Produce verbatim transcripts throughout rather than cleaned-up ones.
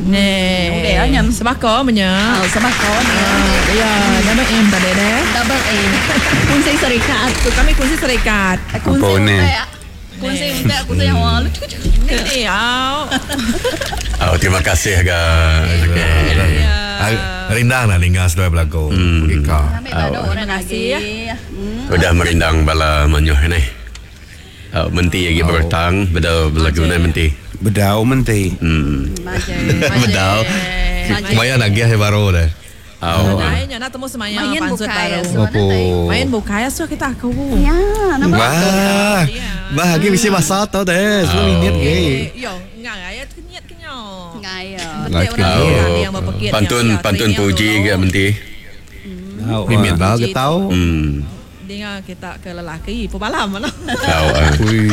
Nih. Udah nyam. Sebaka menya. Oh, sebaka ni. Ya, double M tadi deh. Double A. Kunci serikat. Tu kami kunci serikat. Kunci Apa ni? utek. Kunci utek aku tu yang wah. Lucu Ni au. Oh, terima kasih ga. Okey. Rindang lah lingga seduai belagu. Hmm. Ka. Ambil baru orang kasih, lagi. Hmm. Udah merindang bala manyuh ni. Oh, menti lagi bertang bedau belagu ni menti. Bedau menti. Hmm. Majai. Bedau. Maya nagih baru deh. Oh. Nadai nya nak temu semaya Main pansut bukai baru. Apa? Main bukai asuh kita aku. Ya, nama Wah. Bah, lagi mesti masa tau deh. Sepuluh minit ge. Yo, ngai ya kenyit kenyo. Ngai ya. Betul orang Oh. yang berpekit. Pantun pantun puji ga menti. Mimit lah ke tau. Hmm. Dengar kita ke lelaki pebalam mana. Tahu. ah. Ui.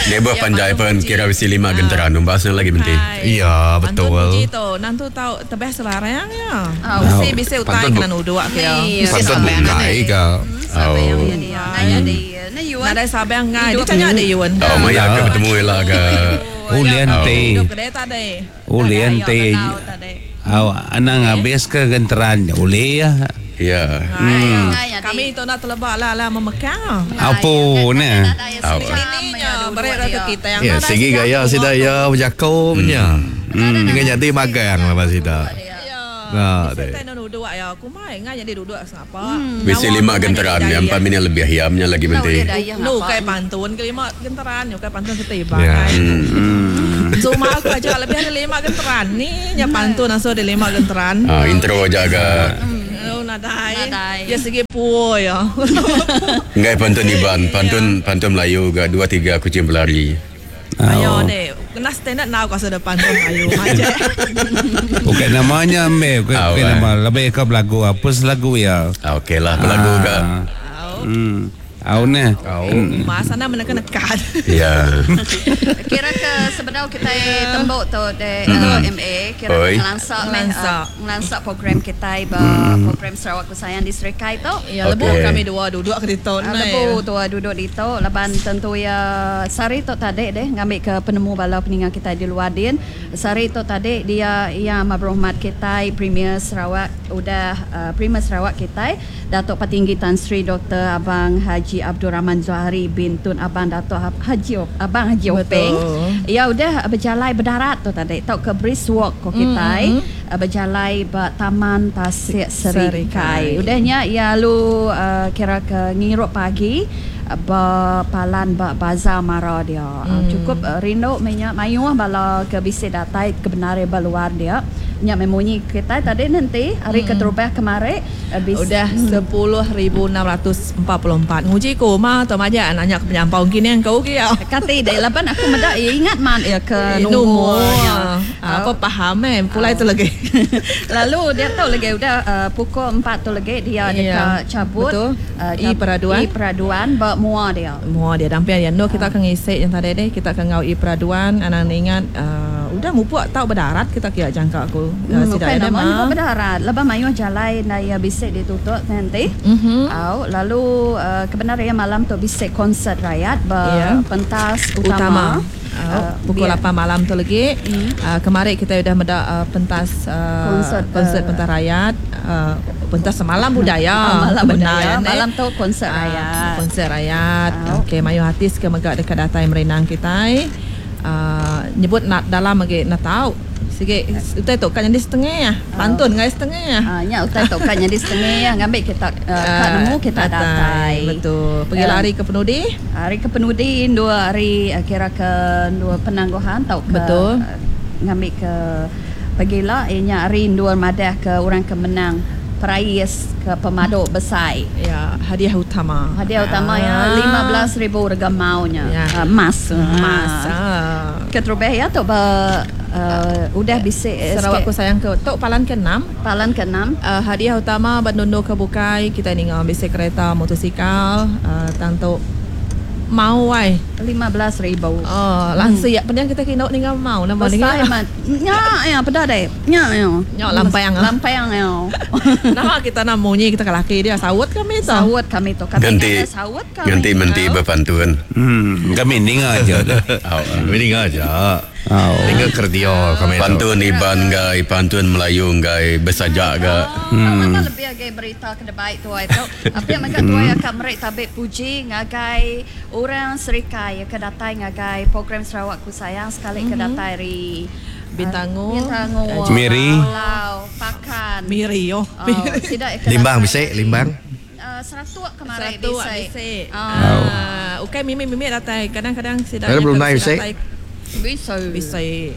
Dia berpanjai pun kira mesti lima genteran numbasnya lagi menti. Iya, betul. Pantun puji tu, nanti tahu tebeh sebarang ya. Oh. Mesti bisa utai Pantun kena nuduh ke ya. Iya. Pantun bukai ka. Oh. Ngai ada. Nah, yuan. Nadai sabang ngai, dia tanya ada yuan. Oh, maya ke bertemu lah ke. Ulian te. Duduk kedai tadi. Ulian te. Aw, anang habis ke genteran uli ya. Ya. Hmm. Ngai ada. Kami tu nak telebak lah lah memekang. Apa ni? Ininya berat ke kita yang Ya, segi gaya sida ya berjako punya. Hmm. Dengan jadi magang lah pas sida. Nah, deh. Kita nak duduk ya, aku mai ngai jadi duduk sengapa. Mesti lima genteran ya, empat minit lebih hiamnya lagi menti. Nu kai pantun ke lima genteran, nu kai pantun setiba Ya. kai. Cuma aku aja lebih ada lima genteran ni, nya pantun langsung ada lima genteran. Ah, intro jaga. Oh, nadai. Nadai. Ya segi puo ya. Ngai pantun Iban, pantun pantun Melayu ga dua tiga kucing berlari. Ayo deh, kena standard now kau sudah pantun Melayu aja. Bukan namanya ambil, bukan, Ah, bukan eh. nama lebih ke belagu apa selagu ya. Ah, okey lah, belagu ga. Hmm. Au ni. Masa nak menekan-nekan. Ya. Kira ke sebenarnya kita tembok tu de uh, M A kira Oi. ngelansak meh Ngelansak. uh, ngelansak program kita ba program Sarawak Kusayang di Serikai tu. Ya, lebu Okey. kami dua duduk ke ditu Uh, lebu tu duduk di tu laban tentu ya sari tu tadi deh ngambil ke penemu bala peningan kita di luar din. Sari tu tadi dia yang berhormat kita Premier Sarawak udah uh, Premier Sarawak kita Datuk Patinggi Tan Sri Doktor Abang Haji Abdul Rahman Zohari bin Tun Abang Datuk Haji Abang Haji Openg. Betul. Ya udah berjalai berdarat tu tadi tau ke brisk walk ko kita mm-hmm. berjalai ba Taman Tasik Serikai. Serikai. Udahnya ya lu uh, kira ke ngirup pagi uh, ba palan ba bazar mara dia. Mm. Cukup uh, rindu minyak mayuh bala ke bisi datai ke benare ba luar dia. Nyak memunyi kita tadi nanti hari mm. keterubah kemarin uh, bis, Udah sepuluh ribu enam ratus empat puluh empat. Nguji ko ma atau maja nanya ke penyampau kini yang kau kia. Kati deh laban aku medak ya, ingat man ya ke Nombor. nomornya. Apa paham eh pulai tu lagi. Lalu dia tahu lagi udah uh, pukul empat tu lagi dia Ya, dekat cabut betul. Uh, I peraduan. I peraduan ba mua dia. Mua dia dampia dia no kita akan ngisi yang tadi deh kita akan ngau i peraduan anang ingat uh, udah mupuk tau berdarat kita kia jangka aku. Hmm, Uh, bukan ada nama mah. juga berdarat. Lepas mayu jalai na ya bisik ditutup nanti. Mhm. Au, lalu uh, kebenaran malam tu bisik konsert rakyat ba Ya. pentas utama. utama. Uh, pukul biar- lapan malam tu lagi. Mm. Uh, kemarin kita sudah mendak uh, pentas uh, Konsert, konsert uh, pentas rakyat, uh, pentas semalam budaya. Ah, malam Benar, budaya. ya, Nek? Malam tu konsert Ah, rakyat. Konsert rakyat. Au. Okey, mayu hati ke megak dekat datai merenang kita. Uh, nyebut nak dalam lagi nak tahu. Sikit utai tu kan jadi setengah ya. Pantun ngai setengah ya. Ah, nya utai tu kan jadi setengah ya ngambil kita uh, kat nemu kita datai. Betul. Pergi Um, lari ke penudi. Hari ke penudi dua hari uh, kira ke dua penangguhan tau ke Betul. Uh, ngambil ke pagila inya hari dua madah ke orang ke menang perais ke pemaduk besar. Ya, hadiah utama. Hadiah utama ya Ah. lima belas ribu rega maunya. Ya. Uh, emas. Emas. Ah. Ah. Keterubah ya tu ba uh, udah bisik eh, Sarawak sikit. ku sayang ke Tok Palan ke enam. Palan ke enam. Uh, hadiah utama Bandung ke Bukai kita ni ngambil bisik kereta motosikal uh, tang tu mau wai. lima belas ribu. Oh, langsung ya penyang kita kena ni ngam mau nama ni. Besar mat. Nya ya pedah deh. Nya ya. Nya lampang ah. Lampang ya. Nama kita nak munyi kita ke laki dia sawut kami tu. Sawut kami tu. Kami Ganti kata sawut kami. ganti menti berpantun. Hmm, kami dengar aja. Oh, Kami dengar aja. Oh. Tinggal kerja kami tu. Pantun Iban gai, pantun Melayu gai besajak ga. Hmm. Mana lebih agai berita ke baik tuai tu. Apa yang mega tuai akan merik tabik puji ngagai orang Serikai ke datai ngagai program Sarawak Ku Sayang sekali ke datai ri Bintango, Bintango, Miri. Lau, Pakan. Miri yo. Oh, sidak ke Limbang datai bisik, ari- Limbang. Uh, seratuk kemarin Satu bisik. bisik. Ah, Ah, okey mimi-mimi datai. Kadang-kadang sidak Ada Brunei bisik? Bisa. Bisik.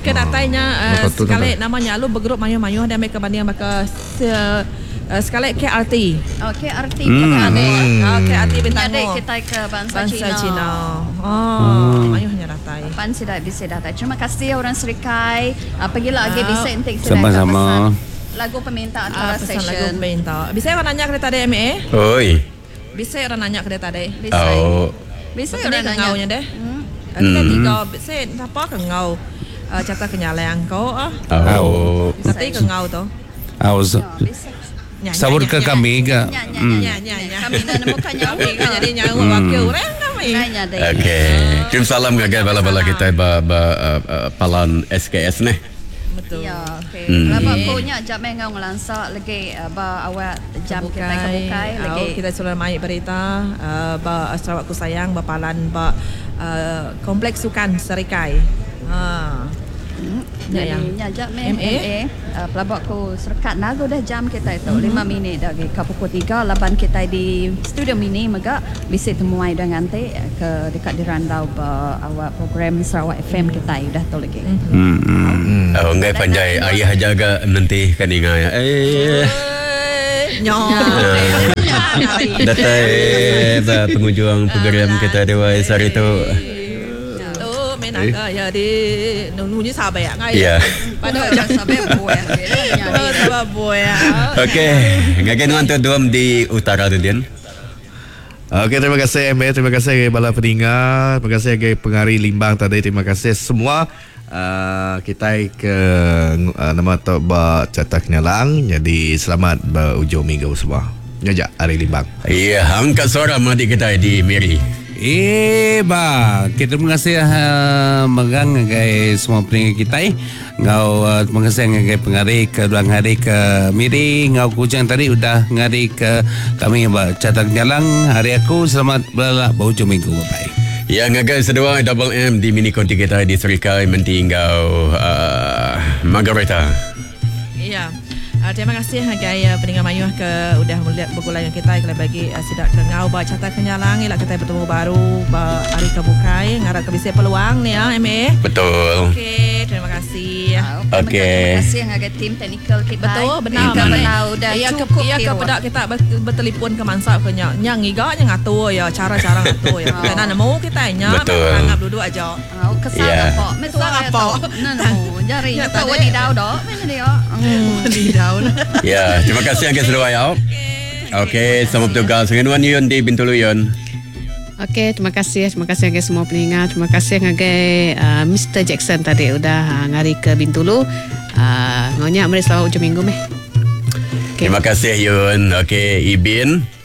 Ke datainya uh, Betul tu, sekali betul. namanya lu bergrup mayu-mayu dia ambil kebanding maka se, uh, sekali K R T. Oh, K R T hmm. Hmm. Ah, K R T Adik Bintango. kita ke bangsa, Bangsa Cina. Cina. Oh, mayuhnya datai. Pan sidak bisa datai. Terima kasih orang Serikai. Uh, pergilah lagi Ah. bisa entik sidak Sama-sama. Lagu permintaan Ah, antara pesan lagu session. minta. Bisa orang nanya ke dia tadi M A? Oi. Bisa orang nanya ke dia tadi. Bisa. Oh. Bisa Bisa orang orang nanya. ngaunya deh. Hmm. Kita tiga bisa apa ke ngau uh, carta kenyalang kau ah. Oh. Tapi ke ngau tu. Oh, Ya, bisa. Nya, sabur nya, ke nya, kami ke. Nya, nya, Hmm. nya, Nya, nya, nya. Kami nak nemukan nyawa. Kami kan jadi nyawa wakil orang kami. Nanya deh. Okey. Kirim salam ngagai bala-bala kita ba ba uh, uh, palan S K S ni. Betul. Ya, okey. Hmm. Lama punya jam mengau ngelansak lagi uh, ba awak jam kita kebukai Au, lagi. kita sudah mai berita uh, ba Sarawak Ku Sayang ba palan ba uh, Kompleks Sukan Serikai. Ha. Ya, ya. Jadi nya jam meh M A. M A uh, pelabak ku serekat nago dah jam kita itu lima minit dah ke pukul tiga laban kita di studio mini mega bisi temuai dah nganti ke dekat di randau ba awak program Sarawak F M kita dah tu lagi. Hmm. Hmm. Oh, ngai panjai ayah jaga nanti kan ingai. Eh. Nyo. Datai ba penghujung program kita dewa hari tu. Tu menaga ya di nunggu sabar ya ngai. Ya. Pada Pada sampai buah. sabar buah. Okey, ngagai nuan tu duam di utara tu Dian. Okey, terima kasih M A, terima kasih kepada bala peninga, terima kasih kepada pengari Limbang tadi, terima kasih semua. Uh, kita ke uh, nama tu ba cetak nyalang. Jadi selamat berujung minggu semua. Nyajak hari Limbang. Ya, angkat suara madi kita di Miri. Eh ba, kita terima kasih uh, megang ngagai semua peninga kita eh. Ngau uh, terima kasih ngagai pengari ke dua hari ke Miri, ngau kujang tadi udah ngari ke kami ba catak jalan hari aku selamat berlalak berhujung minggu bye bye. Ya, ngagai sedua Double M di mini konti kita di Serikai menti ngau uh, Margareta. Ya. Uh, terima kasih ngagai uh, pendengar mayuh ke udah melihat bergulai dengan kita kalau bagi uh, sidak ke ngau ba carta kenyalang ilak kita bertemu baru ba hari kebukai ngarap ke bisa peluang ni ya M A. Betul. Okey, terima kasih. Okey. Terima kasih ngagai tim teknikal kita. Betul, benar. Kita benar udah ya, cukup ke, ya ke pedak kita ber- bertelefon ke mansak ke nya. Nya ngiga nya ngatur ya cara-cara ngatur ya. Kita nak nemu kita nya Betul. anggap duduk aja. Oh, kesal Ya. apa? Mesal Kesal apa? No, no. Jari Ya, tak tadi. wadi dau dok. Mana dia? Hmm. Di daun. Ya, terima kasih ngagai sedua ya. Okey, selamat bertugas dengan Wan Yun di Bintulu Yun. Okey, terima kasih. Terima kasih ngagai semua peninga. Terima kasih ngagai uh, Mister Jackson tadi udah uh, ngari ke Bintulu. Uh, ngonya meri selamat ujung minggu meh. Okey. Terima kasih Yun. Okey, Ibin.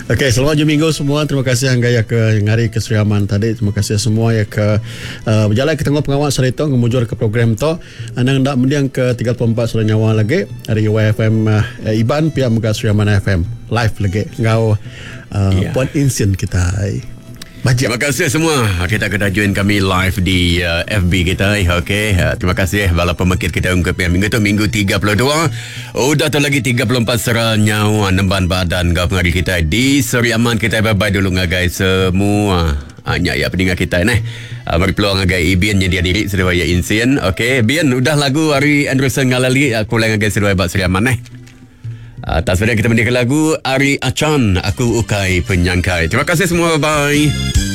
Okey, selamat hujung minggu semua. Terima kasih Angga ya ke ngari ke Sri Aman tadi. Terima kasih semua ya ke uh, berjalan ke tengah pengawal Sarito ngemujur ke program tu. Anang ndak mendiang ke tiga puluh empat Suara Nyawa lagi dari Y F M uh, Iban pihak Mega Sri Aman F M live lagi ngau uh, Ya. Puan Insin kita. Bajak. Terima kasih semua. Kita kena join kami live di uh, F B kita. Okey, uh, terima kasih bala pemekit kita ungkap yang minggu tu minggu tiga puluh dua. Udah tu lagi tiga puluh empat sera nyawa nemban badan gau pengari kita di Seri Aman kita bye-bye dulu ngagai semua. Hanya ya pendengar kita ni. Uh, beri peluang ngagai Ibian nyedia diri seduai ya Insin. Okey, Bian udah lagu Ari Anderson ngalali aku uh, ngagai seduai bak Seri Aman eh. Atas uh, kita mendengar lagu Ari Achan, Aku Ukai Penyangkai. Terima kasih semua, bye-bye.